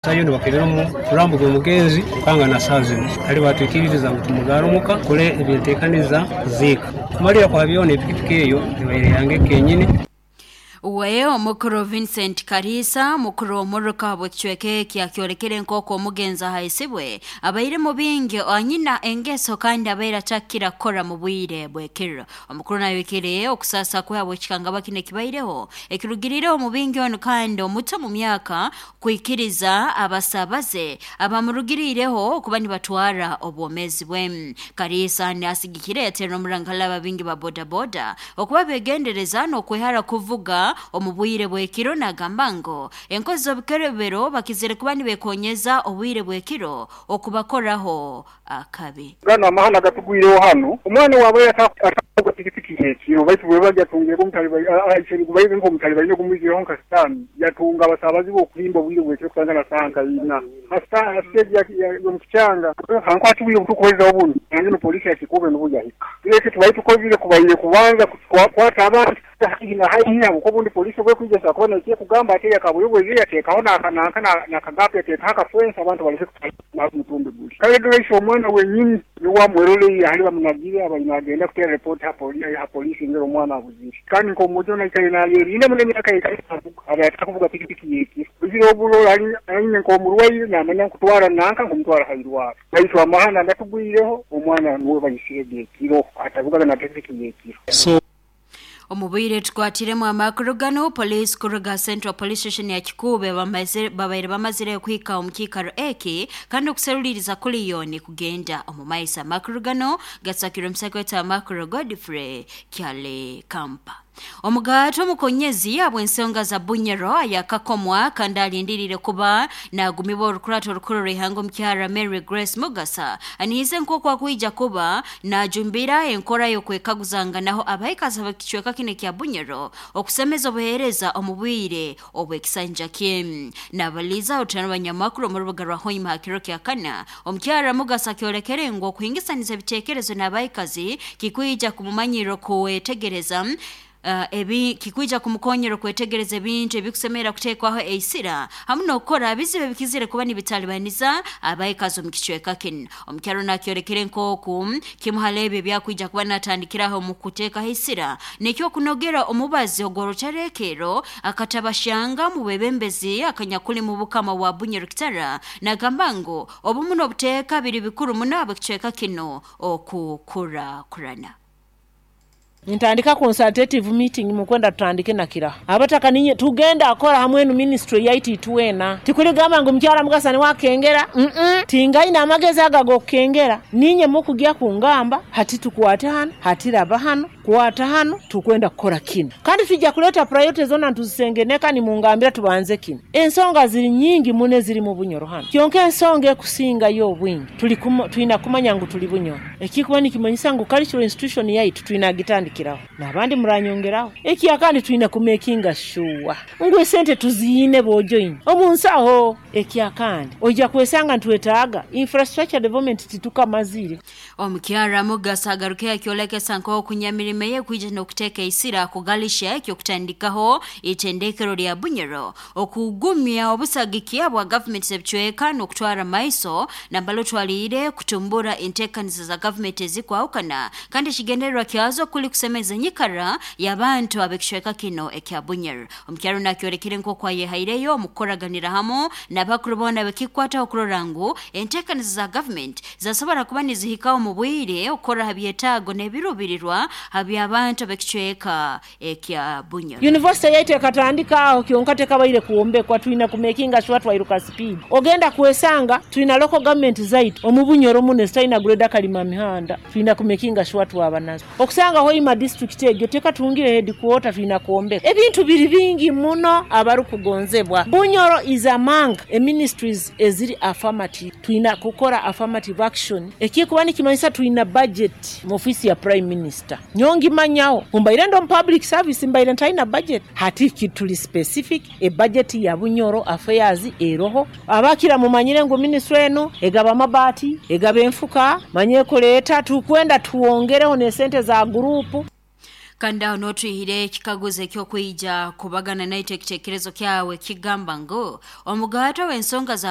Sayo nibakebera omurambo gw'omugenzi nkanga na saaha zinu hali batwikiririza ngu tumugarre omuka tukole ebyenteekaniza kuziika. Kumalira kwa byona epikipiki eyo ebaire yange kenyini. We omukuru Vincent Kariisa, mukuru w'omuruka bw'ekicweka eki, akyolekere nk'oku omugenzi ahaisibwe abaire mubingi anyina engeso kandi abaire atakira kukora mu bwire bw'ekiro. Omukuru nayolekere okusaasa kwe habw'ekikangabwa kinu ekibaireho ekirugiriireho omubingi onu kandi omuto mu myaka kwikiriza abasabaze abamurugiriireho okuba nibatwara obwomeezi bwe. Kariisa nasigikire yaterera omurangala ababingi ba bodaboda okuba begendereza n'okwehara kuvuga omu bwire bw'ekiro, nagamba ngu enkozi z'obukerebero bakizire kuba nibekonyeza obwire bw'ekiro okubakoraho akabi. Ganu amahano agatugwireho hanu, omwana owaabaire atakuvuga pikipiki y'ekiro, baitu bwebagya atungirege gubaire nk'omutalibaine ogumwizireho nka sitaani, yatunga abasaabazi be okuhimba obwire bw'ekiro kutandika na saaha nka ina ha siteegi y'omu kikyanga. Hankwata obwire obuturikubalizaho bunu, nanginu poliisi ya Kikuube nubwo yahika. Eki tubaire tukozire kubaire kubanza kukwata abantu haihi na haihi habw'okuba obundi poliisi obu ekwija esobora kuba n'eki ekugamba ati eyakabuyobwe eije yateekaho nanka n'akagaapu yateekaho akafensi abantu baleke kutwara omutumbi guli. Kale dora ise omwana wenyini nuwe amweroleire hali bamunagire abaire nagenda kuteera repoti ha poliisi engeri omwana abuzire. Kandi nk'omwojo onu aikaire nayerinda muno emyaka aikaire navuga abaire atakuvuga pikipiki y'ekiro. Buzire oburora aine nk'omurwaire namanya nkutwara nanka nkumutwara ha irwarro. Baitu amahano agatugwireho omwana nuwe baisirege ekiro atavugaga na pikipiki y'ekiro. Omu bwire tukwatiremu amakuru ganu, poliisi kuruga Central Police Station ya Kikuube babaire bamazire kuhika omu kiikaro eki kandi okuseruliiriza kuliyo nikugenda omu maiso. Amakuru ganu gasakirwe omusaka waitu amakuru Godfrey Kyale Kampa. Omugaati omukonyezi habw'ensonga za Bunyoro ayakakomwa kandi alindiriire kuba nagumibwa orukurato orukuru rw'ihanga omukyara Mary Grace Mugasa anihize nk'oku akwija kuba najumbira enkora y'okwekaguzanganaho abaikazi ab'ekicweka kinu ekya Bunyoro okusemeza obuheereza omu bwire obw'ekisanja kye. Nabaliza orutano banyamakuru omu rubuga rwa Hoima ha kiro kya kana, omukyara Mugasa akyolekere ngu okuhingisaniza ebiteekerezo n'abaikazi kikwija kumumanyirra okwetegereza ebi kikwija kumukonyera okwetegereza ebintu ebikusemerra kuteekwaho eisira hamu n'okukora bizibu ebikizire kuba nibitalibaniza abaikazi omu kicweka kinu. Omukyaro nakyolekere nk'oku kimu hali ebyo ebyakwija kuba natandikiraho omu kuteekaho eisira nekyokunogera omubazi ogw'oruterekerro akatabashanga mu bwebembezi akanyakuli mu bukama bwa Bunyoro Kitara, nagamba ngu obumu n'obuteeka biri bikuru muno ab'ekicweka kinu okukurakurana. Nintandika consultative meeting mukwenda tutandike na kiraho abataka ninye tugenda akora hamwe enu ministry yaitu itwena. Tikuligamba ngu mukyara Mugasa niwe akengera, tingaine amagezi aga ag'okukengera, ninye mukugya kungamba hati tukwate hanu, hati raba hanu, kwata hanu, tukwenda kukora kinu. Kandi tujja kuleta priority zona nituzisengeneka nimungambira tubanze kinu. Ensonga ziri nyingi muno eziri mu Bunyoro hanu. Kyonka ensonga ekusingayo obwingi twina kumanya ngu tuli Bunyoro. Ekikuba nikimanyisa ngu cultural institution yaitu twina gitandikiraho. N'abandi muranyongeraho. Ekya kandi twina kumakinga sure ngu esente tuziine bojoini omu nsaho. Ekya kandi oija kwesanga nitwetaaga infrastructure development titukamazire. Omukyara Mugasa agaruke akyolekesa nk'okunyamirimo ye kwija n'okuteeka eisira kugalisha eky'okutandikaho itendekero lya Bunyoro okugumya obusagiki bwa gavumenti z'ebicweka n'okutwara maiso nambala otwaliire kutumbura enteekaniza za gavumenti ezikwahukana kandi ekigendererwa kyazo kuli kusemeza enyikara y'abantu ab'ekicweka kino ekya Bunyoro. Omukyaro nakyolekere nk'oku ayehaireyo omu kukoraganira hamu n'abakuru boona bekikwataho kurora ngu enteekaniza za gavumenti zasobora kuba nizihikaho omu bwire okukora ha byetaago n'ebiruubirirwa by'abantu ab'ekicweka ekya Bunyoro. University yaitu ekatandika aho kyonka tekabaire kwombekwa, twina kumakinga sure twairuka speed. Ogenda kwesanga twina local government zaitu omu Bunyoro muno ezitalina grade akalima mihanda, twina kumakinga sure twaba nazo. Okusanga Hoima district egyo tekatungire headquarter, twina kwombeka. Ebintu biri bingi muno abarukugonzebwa. Bunyoro is among ministries eziri affirmative. Twina kukora affirmative action. Ekikuba nikimanyisa twina budget mu office ya Prime Minister. Nyongimanyaho mbaire ndo mu public service mbaire ntalina budget. Hati tuli specific e budget ya Bunyoro affairs eroho. Abakira mumanyire ngu ministry eno egaba amabati, egaba enfuka, manye kuleeta tukwenda tuwongereho n'esente za group. Kandi aho n'otwihire ekikaguzo ekyokwija kubagana naitwe ekitekerezo kyawe kigamba ngu omugato w'ensonga za